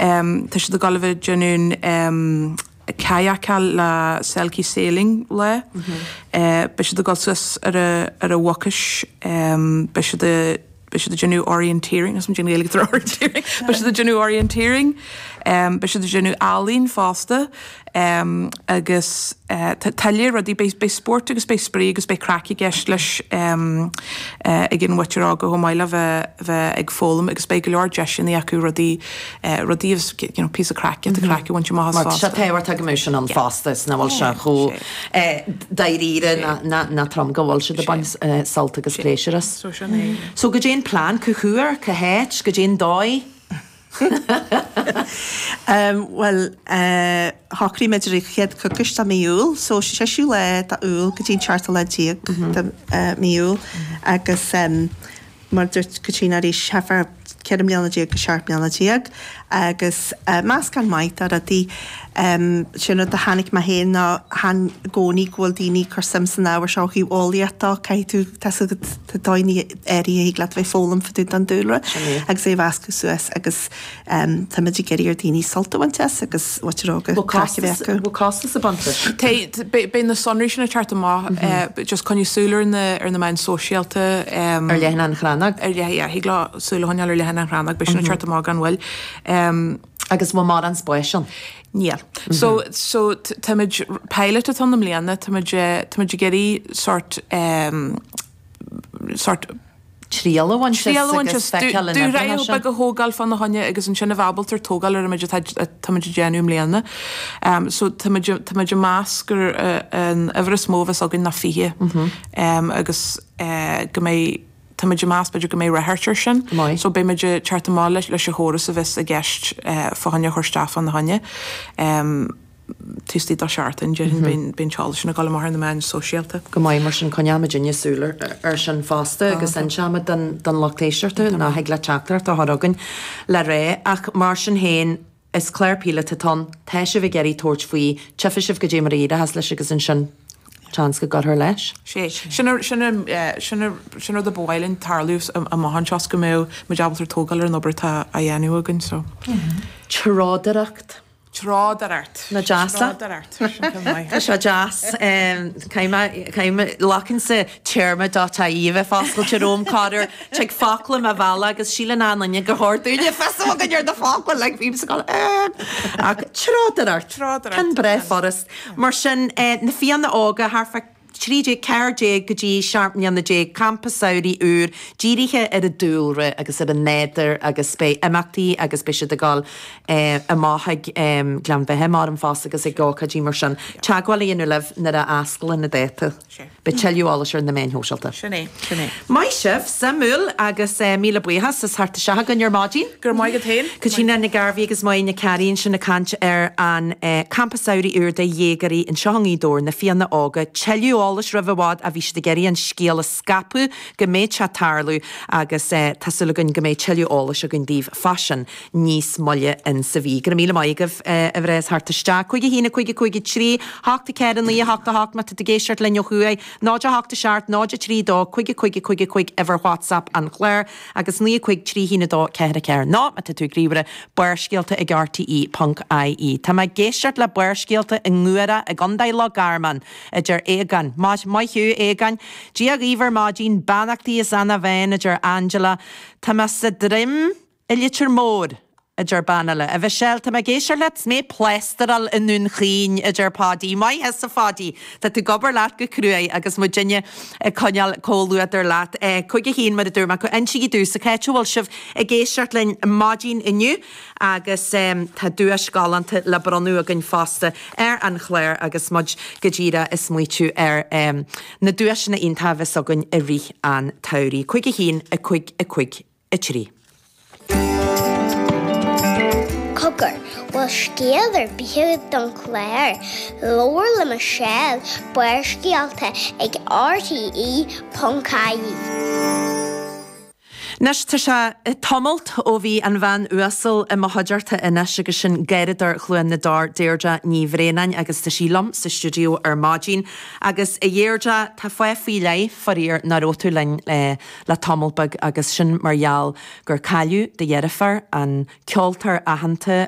Tá siad ag dul a bheith ag déanamh kayakáil le Selkie Sailing lá. Beidh siad ag dul suas ar a ar a mhucais. Beidh siad ag beidh siad ag déanamh orienteering, is an Ghaeilge atá ar orienteering, beidh siad ag déanamh orienteering. Beidh siad ag déanamh ealaín fosta. Agus tá tuilleadh rudaí, beidh spórt agus beidh spraoi agus beidh craic i gceist leis ag an mhuintir óga chomh maith le bheith ag foghlaim agus beidh go leor deiseanna acu rudaí, rudaí agus you know píosa craic, giota craic a bhaint amach as fosta. Mar tá sé tábhachtach go mbeadh sin ann fosta is nach bhfuil sé chomh dáiríre ná trom go bhfuil siad ag baint sult agus pléisiúr as. So sin é. So goidé an plean, cá huair, cá háit, goidé an dóigh? Bhuel, shocraigh muid ar an chéad choicís de mí Iúil, so séú lá de Iúil go dtí an seachtú lá déag de mí Iúil agus mar a dúirt Caitríona arís, thart fá 14 mbliana go 17 mbliana agus meascán maith de rudaí. Sin rud a chonaic mé féin ná chan i gcónaí go bhfuil daoine ag cur suim san ábhar seo ó thaobh eolaíocht de, caithfidh tú, tá 's agat, tá dóigheanna áirithe a thig leat a bheith ag foghlaim fá dtaobh den dúlra agus é a mheascadh suas agus táimid ag iarraidh ar daoine sult a bhaint as agus muintir óga craic a bheith acu. Bhfuil costas ag baint leis? Beidh na sonraí sin ag teacht amach. Just coinnigh súil ar na ar na meáin sóisialta. Ar leathanach an Chrannóg? Ar leith, yeah, thig leo súil a choinneáil ar leathanach an Chrannóg, beidh sin ag teacht amach gan mhoill. Agus bhfuil mórán spáis ann? Níl. So, so táimid, pilot atá ann i mbliana, táimid, táimid ag iarraidh sort, sort. triail a bhaint as Triail a bhaint agus as, feiceáil an oibreann dúshraith sin. beag a thógáil fána choinne agus ansin a bheith ábalta tógáil ar an méid atá táimid ag déanamh i mbliana. So táimid, táimid ag meas gur an uimhir is mó a bheas againn ná 20 agus go mbeidh, táimid ag meas b'fhéidir go mbeidh ráchairt air sin. Go maith. So beimid ag teacht amach leis leis an chóras a bheas i gceist fá choinne a chur isteach fána choinne. Taobh istigh de sheachtain, déarfainn, beidh an t-eolas sin ag dul amach ar na meáin sóisialta. Go maith, mar sin coinneoidh muidinne súil air sin fosta agus inseoimid don lucht éisteachta nach thig leat teachtaireacht a chur chugainn le rá. Ach mar sin féin, is clár píolóta atá ann, tá sibh ag iarraidh tabhairt faoi, tchífidh sibh goidé mar a éireochas leis agus ansin seans go gcuirfear leis. Sé. Sin an, sin an, sin an, sin rud a ba mhaith linn tarlú amach anseo is go mbeadh muid ábalta tógáil ar an obair atá á dhéanamh againn so. Trodaireacht. Trodaireacht. Nach deas é? Trodaireacht. Sin ceann maith. Tá sé deas. Caithfidh mé, caithfidh mé, glacann téarma dot ie a bheith foscailte romham corruair. Tig focla mo bhealach agus síleann achan duine gur chóir dúinne fios a bheith againn ar na focla like bímse ag dul eh. Ach trodaireacht. Trodaireacht. Ceann breá furast. Mar sin, na Fianna Óga thart fá 13, 14 go dtí 17 mbliana, campa samhraidh úr dírithe ar an dúlra agus ar an nádúr agus beidh imeachtaí agus beidh siad ag dul amach ag Gleann Bheithe mar an fosta agus ag ócáidí mar sin. Teagmháil a dhéanamh libh nuair a osclaíonn na dáta. Beidh tuilleadh eolais ar na meáin shóisialta. Sin é, sin é. Maith sibh, suimiúil agus míle buíochas as theacht isteach againn ar maidin. Go raibh maith agat féin. Caitríona Nic Gairbhí agus Máire Nic Cearraigh ansin ag caint ar an Campa Samhraidh úr do dhéagóirí anseo i nGaoth Dobhair, Na Fianna Óga. Tuilleadh eolais roimh i bhfad ach bhí siad ag iarraidh an scéal a scaipeadh go mbeidh sé ag tarlú agus tá súil againn go mbeidh tuilleadh eolais againn daoibh fá sin níos moille in sa mhí. Go raibh míle maith agaibh a mhná as theacht isteach. 5 1 5 5 3 8 4 9 8 8 má tá tú ag éisteacht linn ó thuaidh, 0 8 7 0 3 2 5 5 5 5 uimhir WhatsApp an chláir agus 9 5 3 1 2 4 4 nó má tá tú ag ríomhaire, Barrscéalta ag RTÉ ponc ie. Tá mé ag éisteacht le Barrscéalta i nGuaire i gContae Loch Garman, a deir Aogán. Maith maith thú, a Aogáin. Dia dhaoibh ar maidin, beannachtaí as Eanach Mheáin, a deir Angela. Tá mé sa Droim i Leitir Móir, a deir bean eile. A Mhichelle, tá mé ag éisteacht leat 's mé ag plástaráil i nDún Chaoin, a deir Páidí. Maith thusa, a Pháidí. Tá tú ag obair leat go cruaidh agus muidinne ag coinneáil comhluadar leat. 5 1 mar a dúirt mé, insígí domhsa cá háit a bhfuil sibh ag éisteacht linn maidin inniu agus tá duais galánta le bronnadh againn fosta ar an chlár agus muid go díreach ag smaoitiú ar na duaiseanna iontacha a bheas againn i rith an tsamhraidh. 5 1 5 5 3. Cogar, bhfuil scéal ar bith agat don chlár? Labhair le Michelle, Barrscéalta ag RTE.ie. Anois, tá sé tamalt ó bhí an bhean uasal i mo chuideachta anois agus sin Garradóir Chluain na dTor, Deirdre Ní Bhraonáin agus tá sí liom sa stiúideo ar maidin. Agus a Dheirdre, tá fáth faoi leith, faraor, nach raibh tú linn le tamall beag agus sin mar gheall gur cailleadh do dheirfiúr, an ceoltóir aitheanta.